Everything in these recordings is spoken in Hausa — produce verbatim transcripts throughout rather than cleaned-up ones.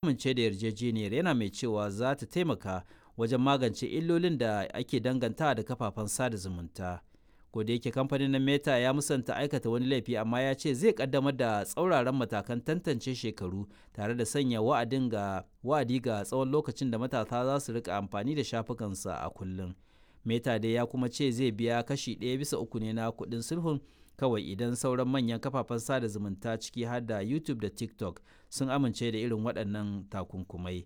Amince da yarjejeniyar, yana mai cewa za ta taimaka wajen magance illolin da ake dangantawa da kafafen sada zumunta. Kodayake kamfanin na Meta ya musanta aikata wani laifi, amma ya ce zai kaddamar da tsauraran matakan tantance shekaru tare da sanya wa'adi ga tsawon lokacin da matasa za su rika amfani da shafukansa a kullum. Meta dai ya kuma ce zai biya kashi ɗaya bisa uku ne na kuɗin sulhun kawai idan sauran manyan kafafen sada zumunta, ciki har da YouTube da TikTok, sun amince da irin waɗannan takunkumai.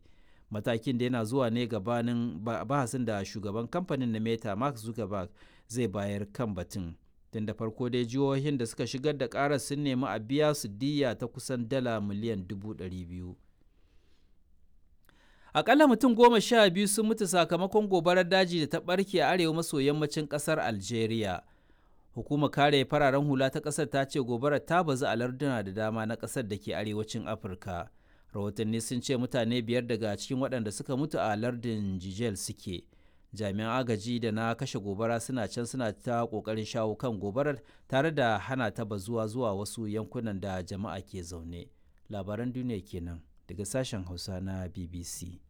Matakin da yana zuwa ne gabanin bahasin da shugaban kamfanin na Meta, Mark Zuckerberg, zai bayar kan batun. Tun da farko dai jihohin da suka shigar da karar sun nemi a biya su diyya ta kusan dala miliyan dubu ɗari biyu. Akalla mutum goma sha biyu sun mutu sakamakon gobarar daji da ta ɓarke a arewa maso yammacin ƙasar Algeria. Hukumar kare fararen hula ta ƙasar ta ce gobarar ta bazu a larduna da dama na ƙasar da ke arewacin Afirka. Rahotanni sun ce mutane biyar daga cikin waɗanda suka mutu a lardin Jijel suke. Jami'an agaji da na kashe gobara suna can suna ta ƙoƙarin shawo kan gobarar tare da hana ta bazuwa zuwa wasu yankunan da jama'a ke zaune. Labaran duniya kenan daga sashen Hausa na B B C.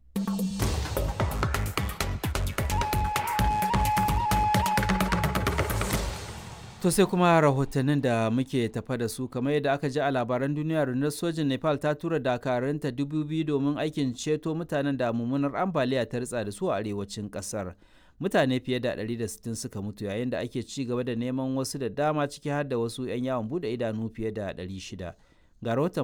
To sai kuma rahotannin da muke tafa da su. Kamar yadda aka ji a labaran duniya, rundunar sojin Nepal ta tura dakarunta dubu biyu domin aikin ceto mutanen da mummunar ambaliya ta ritsa da su a arewacin kasar. Mutane fiye da ɗari da sittin suka mutu yayin da ake ci gaba da neman wasu da dama, ciki har da wasu 'yan yawon bude idanu fiye da ɗari shida. Ga rahoton